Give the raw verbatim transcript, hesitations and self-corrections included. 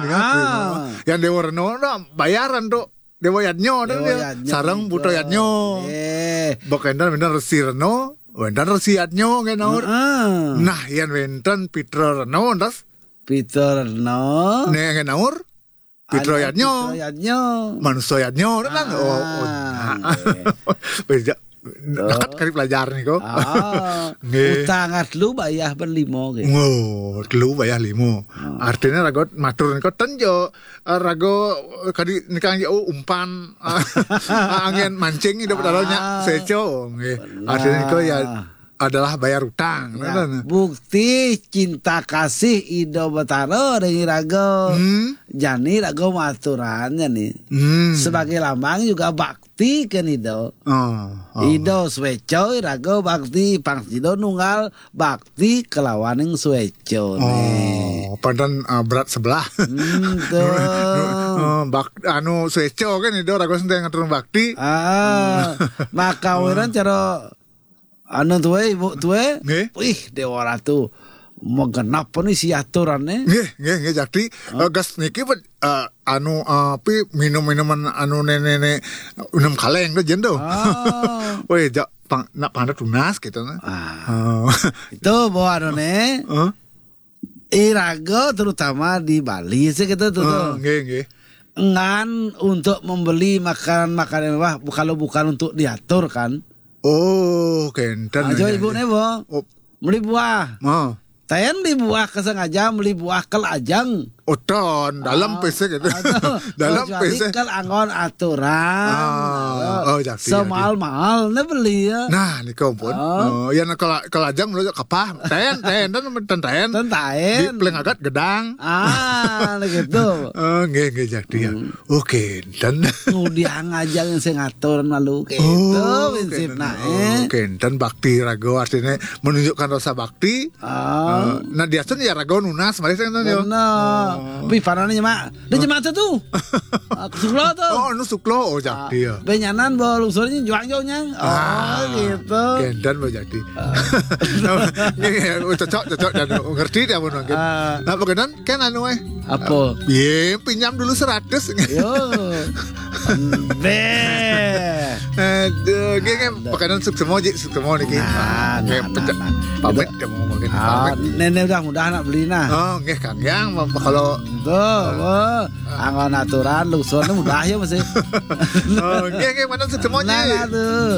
Ah. Yang Dewa Reno, nah, bayaran tuh. Dewa Yadnyo, nah, Dewa dia. Yadnyo, sareng Buto Yadnyo. Eh. Bok entan bener Resi Reno, entan Resi Yadnyo, nggih, Naur. Heeh. Nah, yang wenten Pitra Reno, terus Pitra Reno. Nek, nggih, Naur. Pitra Yadnyo. Pitra Yadnyo. Manusia Yadnyo, kan? Oh, oh, nah. Nggih. Beda. Dekat kali pelajar nih kok. Ah, nggih. Utang telu bayah ben limo, nggih. Wo, telu bayah limo. Hmm. Artinya ragot matur nika ten jo, eh, rago, eh, kadi nikang jo, oh, umpan, eh, angin mancing hidup dalamnya, ah, seco, nggih. Benar. Artinya nika ya adalah bayar utang, ya, kan? Bukti cinta kasih Ido Betara dengan rago. Hmm. Jani rago maturannya nih. Hmm. Sebagai lambang juga bakti kan Ido. Oh, oh. Ido sweco rago bakti, pang Ido nunggal bakti kelawaning sweco nih. Oh, padahal, uh, berat sebelah. Hmm, tuh. Oh, bak-, anu sweco kan Ido rago senteng ngatur bakti. Ah, maka wiran cara anu tuwe, ibu tuwe. Nggih. Wih, Dewa Ratu. Menggenap nih si aturannya. Nggih, nggih, nggih, Jakti. Hah? Eh, gas niki, eh, anu, eh, api minum-minuman anu nenek-nenek minum kaleng tuh jen tuh. Ah. Weh, jak pang, nak pandat tunas gitu nah. Ah. Oh. Itu bawa anu nih. Hah? Irago terutama di Bali sih gitu tuh, oh, tuh. Nggih, nggih. Ngan untuk membeli makanan-makanan mewah, bu-, kalau bukan untuk diatur kan. Oh, kenten. Aja nggih, ibu nggih. Nih, Bo. Oh. Beli buah. Oh. Ten beli buah kesengaja, beli buah kel ajeng. Oh, ton, dalam, ah, pesek gitu. Aduh, dalam, kecuali pesek. Kel anggon aturan. Ah, oh, jadi, semahal-mahal nih beli ya. Nah, nika pun. Oh. Oh, ya, nah, kel-, kel ajeng dulu kapah. Ten, ten, ten, ten, ten. Ten, ten. Di peleng agat gedang. Ah, nah gitu. Oh, nggih, nggih, jadi ya. Hmm. Oh, kenten. Ngudiang aja yang saya ngatur malu gitu, oh, prinsipnya, kenten. Eh. Oh, kenten bakti rago artinya menunjukkan rasa bakti. Ah. Eh, nah, dia tuh ya rago nunas, mari saya nonton, yo. Benar. Oh. Pipanane nyemak. Dia nyemak tuh, tuh. Ah, suklo tuh. Oh, anu suklo, oh, jadi ya. Benyanan bawa lungsurnya juang jauhnya. Oh, ah, gitu. Kenten, bawa jadi. Ah. Nggih, nggih, cocok, cocok, dan ngerti dia pun mungkin. Ah. Nah, pokoknya kan anu, eh. Apa? Ye, pinjam dulu seratus. Yo. Deh. Aduh, nggih, nggih, pakanan suksema, Ji, suksema niki. Nah, nggih, nah, pecah. Nah, nah. Pamit, itu. Dia mau mungkin, ah, pamit. Nenek udah mudah nak beli, nah. Oh, nggih, Kang Yang, kalau tuh, wah, anggon aturan, lungsur ini mudah ya, masih. Oh, nggih, nggih, pakanan suksema, Ji. Nah, nah, tuh.